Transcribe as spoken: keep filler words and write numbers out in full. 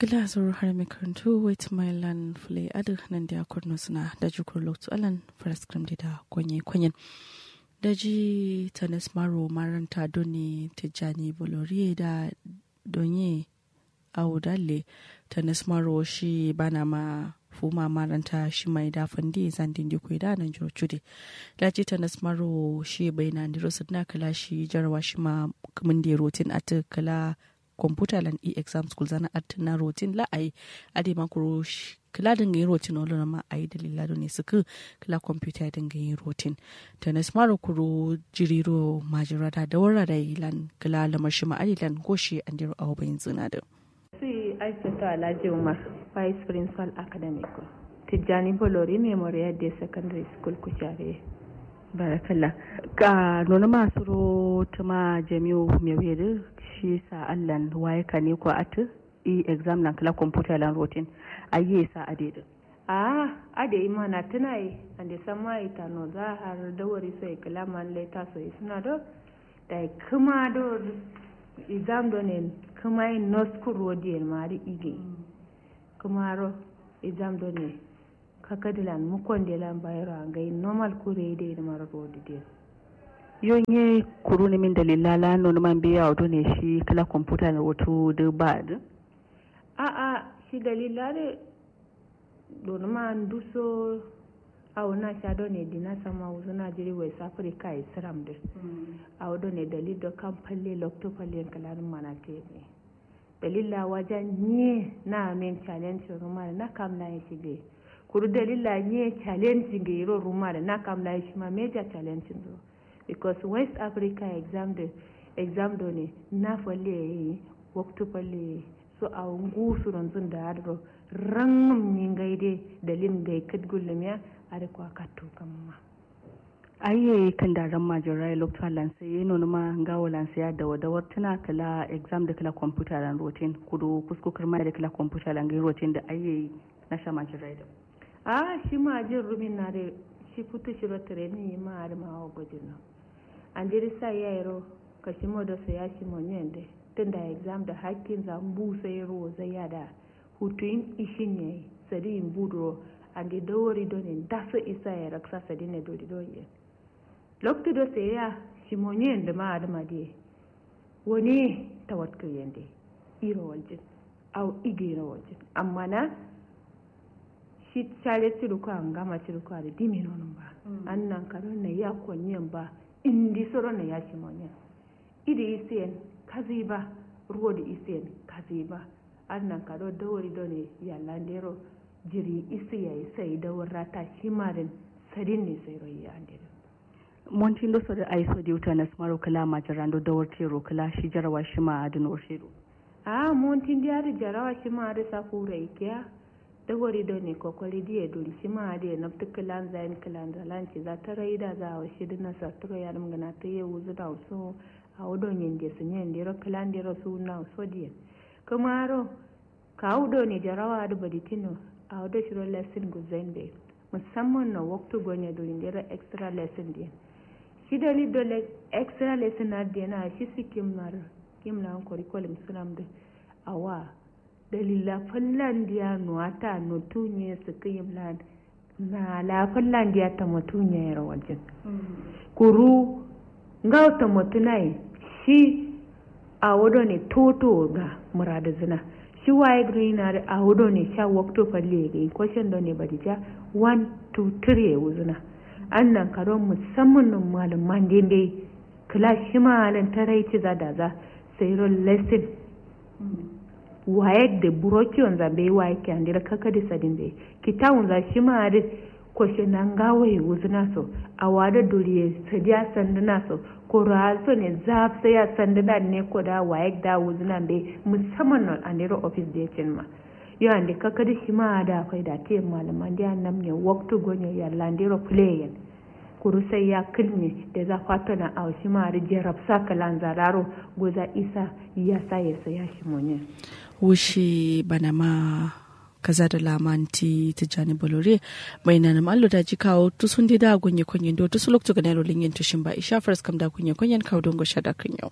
Gla zoro har mai karantu wait my land fule adǝ nan da ya kurno suna da ji kuro loktu alan faras kram da da kwanye kwanyen. Da ji tanis maro maranta doni tijjani boloriye da donye awo dalle tanis maro shi bana ma fuma maranta shi mai da fandi zandi ndi kwai da nan jiro cude. Da ji tanis maro shi bai na ndiro sudna kala shi jarawa shi ma kǝmin da rotin atǝ kala computer lan e exam school zana atǝ na rotin la ai ade ma kuro kǝla dǝnga yin rotin olo na ma ai dalila done sǝkǝ kǝla computer dǝnga yin rotin. Tanis maro kuro jiriro majira da dawara da ilan kǝla lamar shi ma ade lan goshi andiro awo bayin zina dǝ. Sui aisata alhaji umar, vice principal academic, tijjani bolori memorial day secondary school kushare. Barakalla. Ka nonuma suro tuma jami'u mewedǝ shi sa allan waye kane ko atǝ e exam lan kǝla computer lan rotin ayye sa adedǝ. Aa ade imana tǝna ye ande samma itano za har dawari so ye kǝla man leta so ye suna do. Dai kǝma do exam do ne kǝma ye noskuro diyen ma adǝ ige kǝmaro exam do ne kakadilan mukondelan bayero angai normal kure dai dǝ maro rodu diyen. Yo nye kuru nǝmin dalilla la nonuma mbeyi awo done shi kǝla computer lan rotu dǝ ba dǝ. A'a shi dalilla dǝ donuma nduso awo nasha done dina samma wuzuna jiri west africa ye sǝram dǝ. Awo done dalil do kam falle loktu falle yen kǝla dǝ manate ye. Dalilla waja nyiye na amen challenge rumare na kam layin shi be kuru dalilla nyiye challenge nge ro rumare na kam layin shi ma major challenge ro. Because west africa exam de exam do ne na falle ye waktu falle ye so awo ngu suro nzun da adro rangum nyi ngai de dalil ngai kǝt gullum ya. Adǝ kwa kattu kamma. Aiye kǝndaran majin raye loktu allan sai ye nonuma ngawo lan sai ya dawa dawar tǝna kǝla exam dǝ kǝla computer lan rotin kudu kusku kǝrma ye dǝ kǝla computer lan ngai rotin dǝ aiye nasha majin raye dǝ. Aa shi majin rumin na dǝ shi futu shiro training yi ma adǝ ma awo gojin no. Andiri sai ya yero kashimo do sai ya shimo nyen dǝ tunda exam dǝ hakkin za mbu sai ruwo zai ya da. Hutuyin ishin yayi sadiyin buduro ande dawori done ndaso isa yayi raksa sadin ne dori dori yen. Loktu do seye ya shimonye yen dǝma adǝma diye wone tawatku yende iro waljin. Au ige iro waljin amma na shi share ciduko a ngama ciduko adǝ dime nonum ba. Annan kado nayya konyen ba indi soro nayya shimonyen. Idǝ isiyen kaziba ruwo dǝ isiyen kaziba. Adǝ nanka do dawari done yallande ro jiri isi yayi sai dawar rata shima dǝn sadin ne sai ro yi ande dǝ. Montin do so dǝ aiso diwta nasmaro kǝla majirando dawar tero kǝla shi jarawa shima adǝ no shiro. Ahh montin diya dǝ jarawa shima adǝ safu ro ikiya. Dawari done kokori diye duri shima adǝ ye nabtǝ kǝlanza yen kǝlanza lan ciza tarai daza awo shidǝ nasartǝro yadǝm gǝna tǝye wuzǝna wuso. Awo do nyinde sǝnyen dero kǝlan dero suwunna wuso diyen. Kǝmaro kawu done jarawa adǝ baditino. Awo do shiro lesson gulzain be musamman no waktu gonye duri ndero extra lesson diyen. Shi dalil do extra lesson adǝ dena shi sikkim lar kimlan kori kolim sǝnamdǝ. Awa dalilla fallan diya nuwata notu nye sǝkkǝ yimlan. Na la fallan diya tamatu nyayero waljin. Kuru ngawo tamatu nayi shi awo done toto ga muradǝzǝna. Shi waye gǝrina dǝ awo done sha waktu falle ye gǝyi koshen done badija. One two three ye wuzǝna. Annan kado musamman no malum mande mbeyi. Kǝla shima adǝn tarai ciza daza. Sairo lesson wayek dǝ burokiyonza mbeyi wayek kiyandiro kakadi sadin mbeyi. Kitawunza shima adǝ koshena ngawoye wuzǝna so. Awo adǝ duriye sadiya sandǝna so. Koro aso ne zafsaiya sandǝna dǝ ne koda wayek da wuzǝna mbeyi musamman no andero office de cinma. Yo ande kakadi shima adǝ afaida tiyen malum mande annam ne waktu gonye yallandero fǝleyen. Kuru sai ya kǝlnye deza fatona awo shima adǝ jerabsa kǝlanza laro goza isa yasa yeso ya shimonye. Wushi banama kaza da lamanti tijjani bolore. Mai nanam allo daji kawo tusun de da gonye konyen do tusu loktu gana yaro lingin tushin ba isha faras kam da gonye konyen kawo dongo shada kǝnyo.